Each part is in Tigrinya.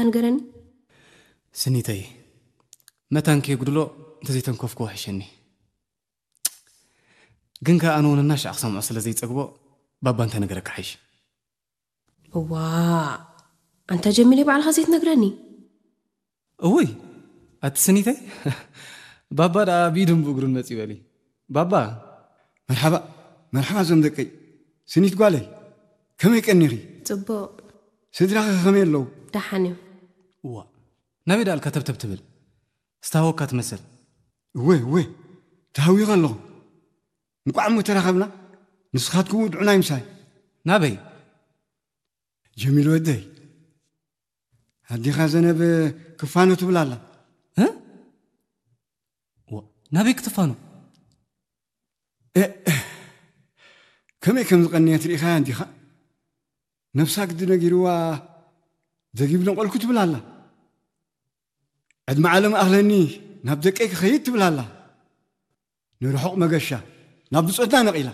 ንገረኒ። ስኒተይ፣ መታን ከየጉድሎ እንተዘይተንከፍኩ ወሕሸኒ። ግን ከኣ ኣነ እውን እናሻዕ ክሰምዖ ስለ ዘይጸግቦ፣ ባባ እንተነገረካ ሓይሽ። እዋ፣ ኣንታ ጀሚል፣ ባዕልኻ ዘይትነግረኒ? እውይ፣ ኣቲ ስኒተይ፣ ባባ ደኣ ብኢዱን ብእግሩን መጺእ በሊ። ባባ። መርሓባ፣ መርሓባ እዞም ደቀይ። ስኒት ጓለይ፣ ከመይ ቀኒኺ? ጽቡቕ። ስድራኺ ከመይ ኣለዉ? ደሓን እዮም። እዋ፣ ናበይ ደኣልካ ተብተብ ትብል? ዝተሃወካ ትመስል። እወ፣ እወ፣ ተሃዊኸ ኣለኹ። እንቋዕ እሞ ተራኸብና። ንስኻትኩም ውድዑናይ ምሳይ። ናበይ? ጀሚል ወደይ፣ ኣዴኻ ዘነብ ክፋኖ ትብል ኣላ። እ? ዋ፣ ናበይ ክትፋኖ? እ፣ ከመይ ከም ዝቐነየት ርኢኻያ እንዲኻ? ነብሳ ግዲ ነጊርዋ፣ ደጊብ ነቐልኩ ትብል ኣላ። ዕድመ ዓለም ኣኽለኒ፣ ናብ ደቀይ ክኸይድ ትብል ኣላ። ንርሑቕ መገሻ፣ ናብ ብጾትና ነቒላ።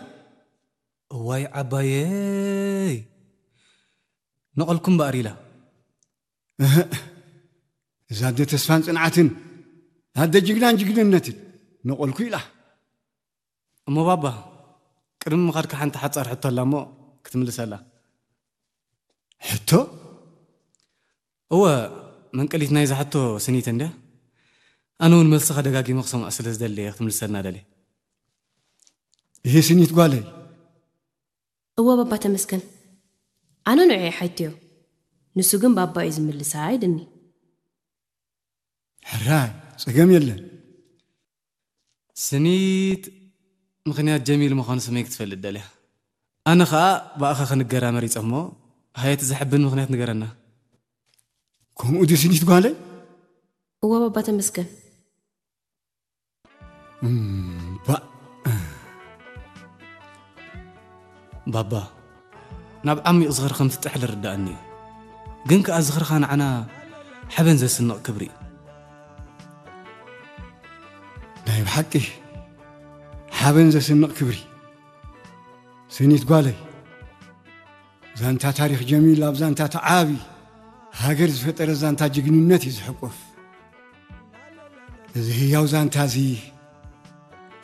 እዋይ ዓባየይ፣ ነቐልኩ እምበኣር ኢላ። እህ፣ እዛ ኣደ ተስፋን ጽንዓትን፣ ኣደ ጅግናን ጅግንነትን፣ ነቐልኩ ኢላ። እሞ ባባ፣ ቅድሚ ምኻድካ ሓንቲ ሓጻር ሕቶ ኣላ እሞ ክትምልሰላ። ሕቶ? እወ፣ መንቀሊት ናይዛ ሕቶ ስኒት እንድያ። ኣነ እውን መልስኻ ደጋጊመ ክሰምዖ ስለ ዝደሊ እየ ክትምልሰልና ደልየ። ይሄ ስኒት ጓለይ። እወ ባባ ተመስገን። ኣነ ንዑ እየ ሓይትዮ። ንሱ ግን ባባ እዩ ዝምልሳ ኢልኒ። ሕራይ፣ ጸገም የለን። ስኒት ምኽንያት ጀሚል ምዃኑ ስመይ ክትፈልጥ ደልያ። ኣነ ኸኣ ብኣኻ ክንገራ መሪጸ እሞ፣ ሃየት ዘሕብን ምኽንያት ንገረና። ከምኡ ድዩ ስኒት ጓለይ? እወ ባባ ተመስገን። እምባእ። ባባ፣ ናብ ዓሚቕ ዝኽሪ ከም ትጥሕል ርዳእኒ እዩ። ግን ከኣ ዝኽርኻ ንዓና ሓበን ዘስንቕ ክብሪ እዩ። ናይ ብሓቂ ሓበን ዘስንቕ ክብሪ። ስኒት ጓለይ፣ ዛንታ ታሪኽ ጀሚል ኣብ ዛንታ ተዓቢ ሃገር ዝፈጠረ ዛንታ ጅግንነት እዩ ዝሕቆፍ። እዚ ህያው ዛንታ እዚ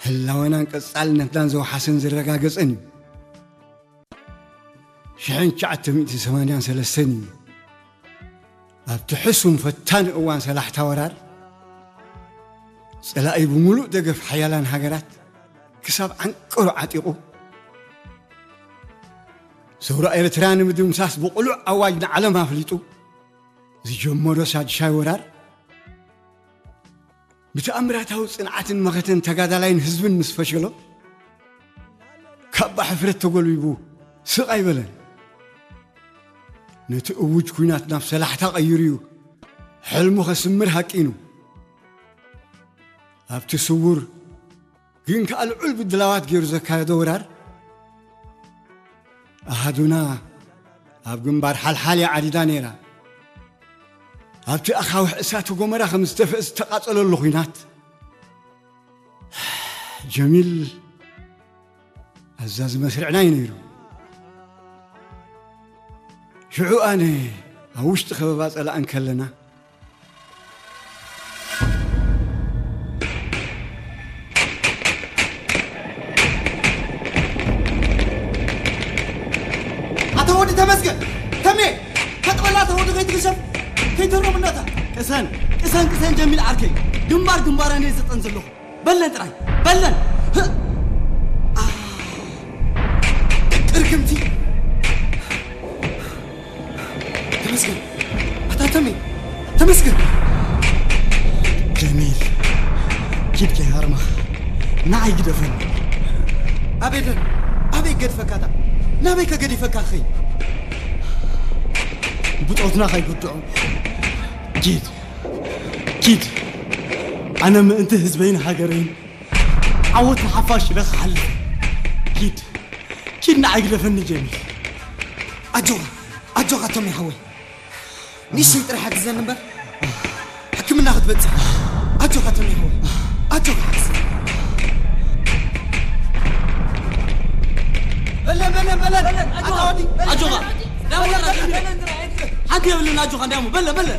ህላወናን ቀጻልነትናን ዘውሓሰን ዘረጋገጸን እዩ። ሽሕን ትሽዓተ ሚእትን ሰማንያን ሰለስተን እዩ። ኣብቲ ሕሱም ፈታኒ እዋን ሰላሕታ ወራር፣ ጸላኢ ብምሉእ ደገፍ ሓያላን ሃገራት ክሳብ ዓንቀሩ ዓጢቑ፣ ሰውራ ኤርትራ ንምድምሳስ ብቕሉዕ ኣዋጅ ንዓለም ኣፍሊጡ ዝጀመሮ ሳድሻይ ወራር፣ ብተኣምራታዊ ጽንዓትን መኸተን ተጋዳላይን ህዝብን ምስ ፈሸሎ፣ ካባ ሕፍረት ተጎልቢቡ ስቕ ኣይበለን። ነቲ እውጅ ኲናት ናብ ሰላሕታ ቀይሩ እዩ ሕልሙ ከስምር ሃቂኑ። ኣብቲ ስውር ግን ከኣ ልዑል ብድላዋት ገይሩ ዘካየዶ ወራር፣ ኣሃዱና ኣብ ግንባር ሓልሓል እያ ዓዲዳ ነይራ። ኣብቲ ኣኻውሕ እሳተ ጎመራ ከም ዝተፍእ ዝተቓጸለሉ ኲናት፣ ጀሚል ኣዛዚ መስርዕና እዩ ነይሩ። ሽዑ ኣነ ኣብ ውሽጢ ከበባ ጸላኢ እንከለና፣ ኣታ ወዲ ተመስገን፣ ተሜ፣ ተጥበላ፣ ኣታ ወዲ ከይትግሸፍ፣ ከይተሮም እናታ። ቅሰን፣ ቅሰን፣ ቅሰን ጀሚል ዓርከይ፣ ግንባር ግንባረን እየ ዝጠን ዘለኹ። በለን ጥራይ፣ በለን። ህ-፣ ኣ፣ ቅርግምቲ። ተመስገን። ኣታ ተሜ፣ ተመስገን። ጀሚል፣ ኪድ ከይሃርመኻ፣ ንዓይ ግደፈኒ። ኣበይ ደን-፣ ኣበይ ገድፈካ ዳ? ናበይ ከገዲፈካ ኸይ? ብጾትና ከይጉድዑ። ኪድ፣ ኪድ። ኣነ ምእንቲ ህዝበይን ሃገረይን ዓወት ንሓፋሽ ኢለ ክሓልፍ። ኪድ፣ ኪድ ንዓይ ግደፈኒ ጀሚል። ኣጆኻ፣ ኣጆኻ ቶም ይሓወይ። ንእሽተይ ጥራሕ ሓግዘኒ እምበር፣ ሕክምና ክትበጽሕ። ኣጆኻ ተሜ ሓወይ። ኣጆኻ ሓግዘኒ። በለን፣ በለን፣ በለን። ኣታ ወዲ፣ በለን። ኣጆኻ። በለን፣ በለን፣ በለን። ኣንቲ የብልና ኣጆኻ እንዲያሞ በለ በለ